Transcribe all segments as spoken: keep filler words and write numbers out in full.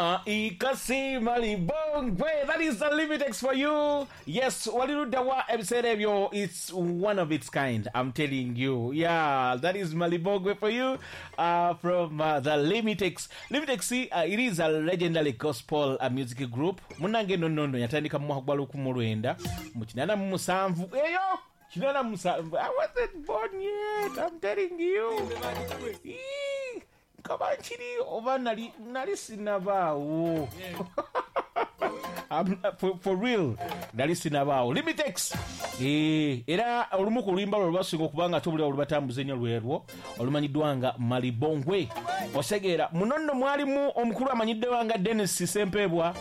Ikasi Malibongwe. That is the Limitex for you. Yes, walirudda wa ebiseera ebyo. It's one of its kind, I'm telling you. Yeah, that is Malibongwe for you uh, from uh, the Limitex. Limitex, uh, it is a legendary gospel uh, music group. Munange no no no yatandika mu mwaka gwa lukumi lwenda mu kinaana mu musanvu. Eyo kinaana mu musanvu. I wasn't born yet, I'm telling you. Eee. Kaba nkiri oba nali nali sinabaawo. For, for real nali sinabaawo. Limitex eh era olumu ku luyimba lwe lwasinga okuba nga tobulira olubatambuza ennyo lwerwo olumanyiddwa nga Malibongwe. Osegeera muno nno mwalimu omukulu amanyiddwa nga Dennis Sempebwa,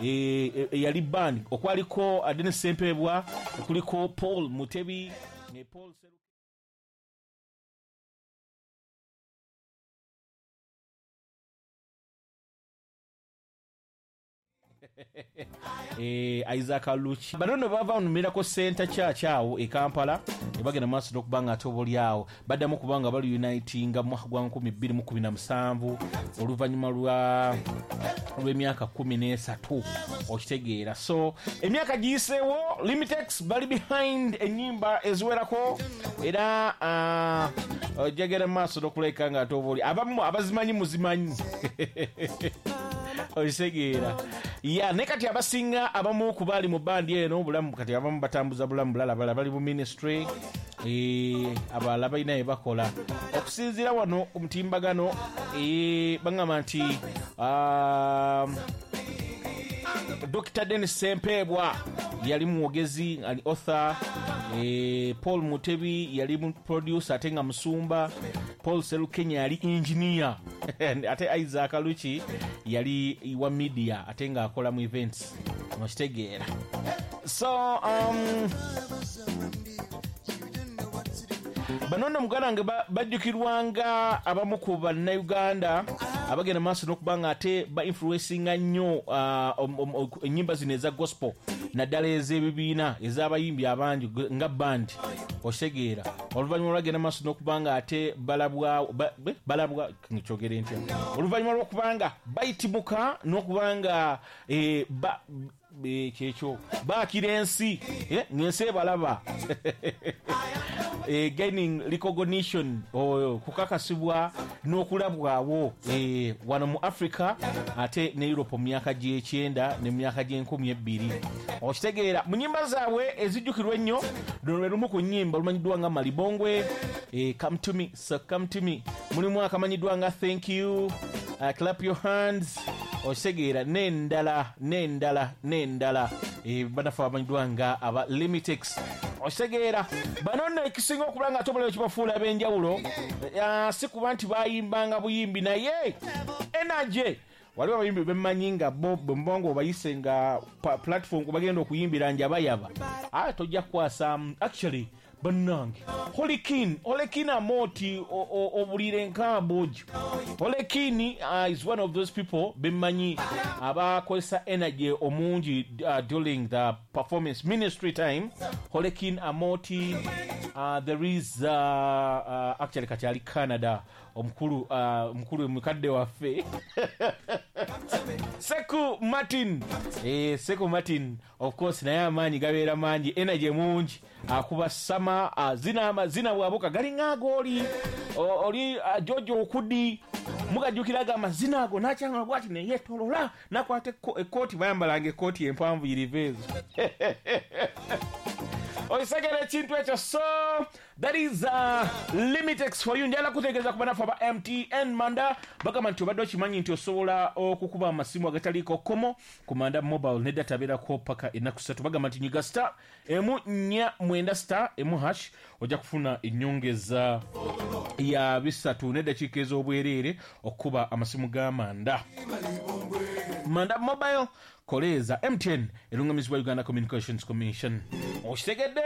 eh yali band okwaliko Dennis Sempebwa, kuliko Paul Mutebi ne Paul Eh, Isaac Luchi. Bano nno bava mu Miracle Center Church awo e Kampala ne bagenda maaso n'okuba nga ate oboolyawo baddamu kuba nga bali unitinga mu mwaka gwa nkumi bbiri mu kkumi na musanvu oluvannyuma lwa lw'emyaka kkumi n'esatu okitegeera. So emyaka giyiseewo Limitex bali behind ennyimba eziwerako era uh, ojagera maaso n'okuleka nga ate obooli abamu abazimanyi muzimanyi okitegeera. Ya ne kati abasinga abamu ku bali mu bandi eno bulamu kati abamu batambuza bulamu bulala balala bali mu ministry eh abalala balina bye bakola okusinziira wano ku mutimbagano eh bangamba nti um, Doctor Dennis Sempebwa yali mwogezi ali author, eh, Paul Mutebi yali producer ate nga musumba, Paul Serukenya yali engineer ate Isaac Luchi yali wa media ate nga akola mu events okitegeera. So um, bano nno muganda wange bajjukirwanga abamu ku bannayuganda abagenda maaso n'okuba nga ate ba influencinga nnyo uh, ennyimba zino eza gospel naddala ez'ebibiina ez'abayimbi abangi nga band okitegeera. Oluvannyuma lwagenda maaso n'okuba nga ate balabwa balabwa nkyogere ntya oluvannyuma lw'okuba nga bayitimuka n'okuba nga eh, ba kyekyo baakira ensi eh, ng'ensi ebalaba eh, gaining recognition oh, kukakasibwa n'okulabwawo eh, wano mu Africa ate ne Europe mu myaka gy'ekyenda ne mu myaka gy'enkumi ebbiri okitegeera. Mu nnyimba zaabwe ezijjukirwa ennyo luno lwe lumu ku nnyimba olumanyiddwa nga Malibongwe, eh, Come to me, so come to me, mulimu akamanyiddwa nga Thank you, uh, Clap your hands okitegeera n'endala n'endala n'endala eh, banafe abamanyiddwa nga aba Limitex okitegeera. Bano nno ekisinga okuba nga ate ekibafuula ab'enjawulo uh, si kuba nti bayimbanga buyimbi naye energy. Waliwo abayimbi bemmanyi nga bo bwe nga obayise nga platform kwe bagenda okuyimbira njabayaba ah, tojja kukwasa actually bannange Holekin Holekin Amoti obulire enkambo gyo. Holekin uh, is one of those people bemmanyi abakozesa energy omungi uh, during the performance ministry time. Holekin Amoti uh, there is uh, uh, actually kati ali Canada omukulu omukulu uh, mukadde waffe Seku Martin eh, Seku Martin of course naye amaanyi gabeera mangi energy mungi akuba sama uh, zina amazina bwabuka galinga agooli oli uh, Jojo Okudi mugajjukiraga amazina ago n'akyanga bwati neyeetolola nakwata ekkooti bayambalanga ekkooti empanvu yiriva ezo oisegera ekintu ekyo. So that is uh, Limitex for you. Njala kutegeeza ku banafu aba M T N Manda bagamba nti obadde okimanyi nti osobola okukuba amasimu agataliiko kkomo ku Manda Mobile ne data abeerako paka ennaku ssatu. Bagamba nti nyiga star emu nnya mwenda star emu hash ojja kufuna ennyongeza ya bisatu n'eddakiika ez'obwereere okukuba amasimu ga Manda. Manda Mobile koleeza M T N erungamizibwa Uganda Communications Commission. Okitegedde?